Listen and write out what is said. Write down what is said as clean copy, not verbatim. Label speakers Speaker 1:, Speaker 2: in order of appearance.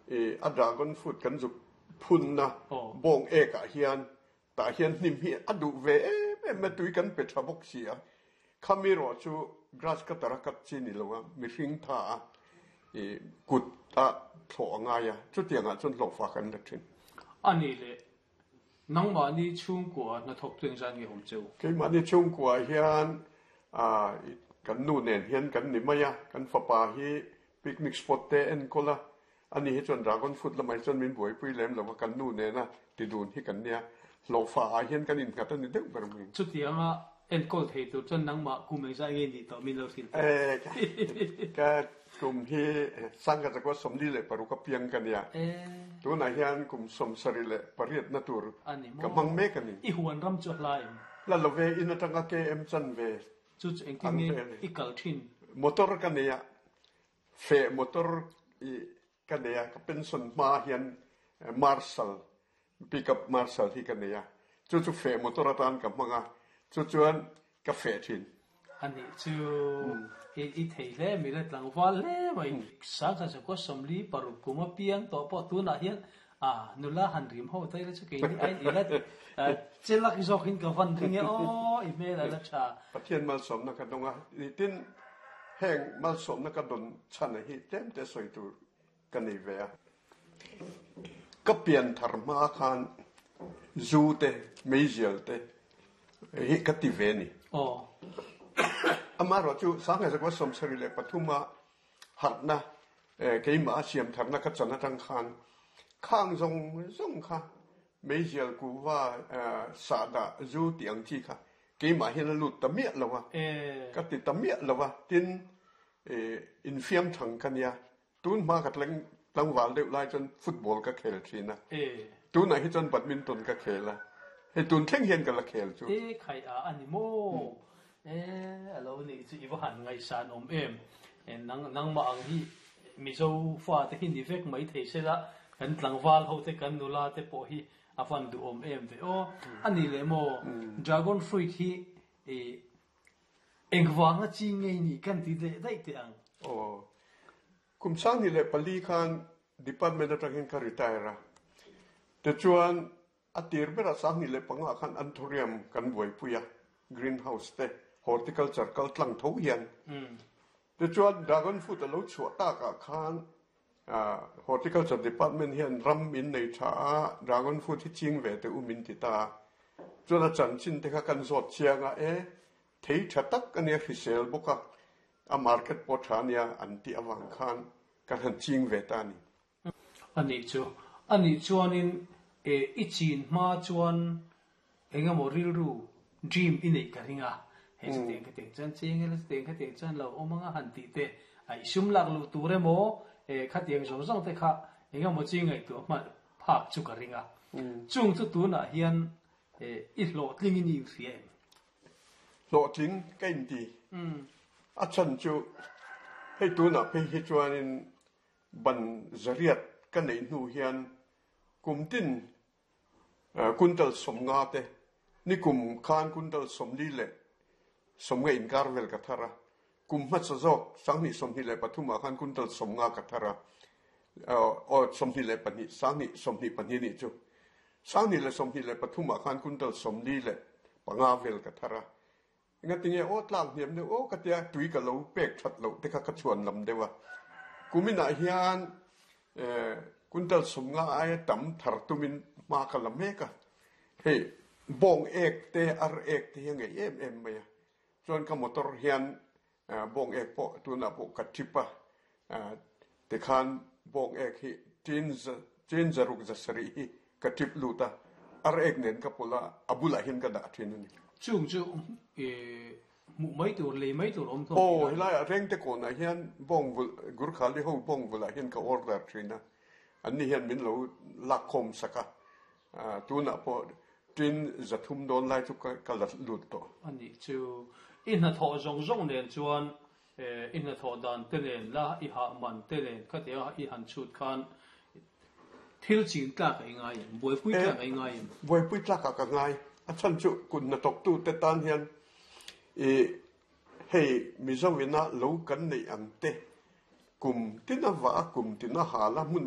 Speaker 1: I a dragon fruit kan zuk phunna bawng ek ah hian tah hian hnim hi a duh ve em em a, tui kan pe tha bawk si a. Khami erawh chu grass cutter a cut chi ni lo a, mihring tha a i kut a thlawh a ngai a, chutiangah chuan hlawhfa kan la thin.
Speaker 2: A nih leh nangmahni chhungkua hnathawk chu engzat nge awm cheu?
Speaker 1: Keimahni chhungkua hian kan nu nen hian kan ni mai a, kan fapa hi picnic spot te enkawl a, Ani hi chuan dragon fruit lamah hi chuan min buaipui lem lo va, kan nu nena ti dun hi kan nia, hlawhfa ah hian kan innghat a ni deuh ber mai.
Speaker 2: Chutianga enkawl thei tur chuan nangmah kum engzah nge nih tawh min lo hrilh teh.
Speaker 1: E, ka kum hi sangha zakua 46 a piang ka nia, tunah hian kum 78 na tur ka hmang mek a ni.
Speaker 2: I huan ram chu a hla em?
Speaker 1: Hla lo ve, in atanga KM chan ve.
Speaker 2: Chu chu engtin nge i kal thin?
Speaker 1: Motor ka nei a, Feh motor i ka nei a, ka pension hma hian Marshal, pickup Marshal hi ka nei a, chu chu feh motor atan ka hmang a, chu chuan ka feh thin.
Speaker 2: A nih chu i thei hle mai la tlangval hle mai. Sangha zakua 46 kum a piang tawh pawh tunah hian a nula han rim ho ta ila chu keini aiin i la chelak zawkin ka van ring e aw i hmel a la tha.
Speaker 1: Pathian malsawmna ka dawng a, tin Heng malsawmna ka dawn chhana hi tlemte sawi tur ka nei ve a. Ka pian thar hma khan zu te, meizial te hi ka ti ve a ni. Amaherawh chu Sangha 73 a harhna keimah a siam tharna ka chan atang khan khang zawng zawng kha meizial kuhva sahdah zu tih ang chi kha Keimah hian a lut ta miah lo a, ka ti ta miah lo a, tin infiam thang ka nia, tun hma ka tlangval deuh lai chuan football ka khel thin a, tunah hi chuan badminton ka khel a, hei tun thleng hian ka la khel chu.
Speaker 2: E khai a a ni maw? E a lo nih chu i va han ngaihsan awm em? Nang nangmah ang hi Mizo fate hi ni vek mai thei se la, kan tlangval ho te kan nula te pawh hi A van duhawm em ve aw. A nih leh maw dragon fruit hi engvanga chi ngei nih kan ti leh daih teh ang.
Speaker 1: Aw. Kum 2004 khan department atangin ka retire a. Tichuan a tir berah 2005 khan anthurium kan buaipui a, greenhouse te, horticulture kal tlang tho hian. Tichuan dragon fruit a lo chhuah takah khan Horticulture Department hian ram min nei tha a, dragon fruit hi ching ve teh u min ti ta a. Chuan a chanchin te kha kan zawt chiang a, e, thei tha tak a nia hrisel bawk a, a market pawh tha a nia an tih avang khan kan han ching ve ta a ni.
Speaker 2: A nih chu. A nih chuanin e, i chin hma chuan Eng emaw rilru, dream, i neih ka ring a, hei chutiang khatiang chuan cheng ila chutiang khatiang chuan lo awm anga han tih te, a i sum lak luh tur emaw khatiang zawng zawng te kha eng emaw chi ngaihtuah hman phak chu ka ring a. Chung chu tunah hian i hlawhtling in i inhria em?
Speaker 1: Hlawhtling ka inti. A chhan chu hei tunah phei hi chuanin ban zariat ka neih hnu hian kum tin Kuntal 50 te, nikum khan kuntal 40 le 50 inkar vel ka thar a, kum hmasa zawk 2023 ah khan kuntal 50 ka thar a, aw 22, 2022 nih chu, 2023 ah khan kuntal 45 vel ka thar a, Engatinge aw tlak hniam deuh aw ka tia tui ka lo pek that loh te kha ka chhuan lam deuh a. Kuminah hian kuntal 50 aia tam thar tumin hma ka la mek a. Hei bawng ek te ar ek te hi a ngeih em em mai a. Chuan ka motor hian bawng ek pawh tunah pawh ka trip a. Tikhan bawng ek hi tin tin zaruk zasarih hi ka trip lut a, ar ek nen ka pawlh a, a bulah hian ka dah thin a ni.
Speaker 2: Chung chu hmuh mai tur, lei mai tur awm hlawm
Speaker 1: Aw, helaiah Rengte kawnah hian bawng vulh, Gurkhali ho bawng vulhah hian ka order thin a, anni hian min lo lakkhawm sak a, tunah pawh tin 300 dawn lai chu ka la lut tawh.
Speaker 2: A nih chu, i hnathawh zawng zawng nen chuan I hnathawh dan te nen la, i hah man te nen khatiang i han chhut khan thil chin tlak a i ngai em? Buaipui tlak a i ngai em?
Speaker 1: Buaipui tlak ah ka ngai. A chhan chu kut hnathawktu te tan hian i hei Mizo ina lo kan neih ang te kum tin a vah a, kum tin a hal a, hmun dang.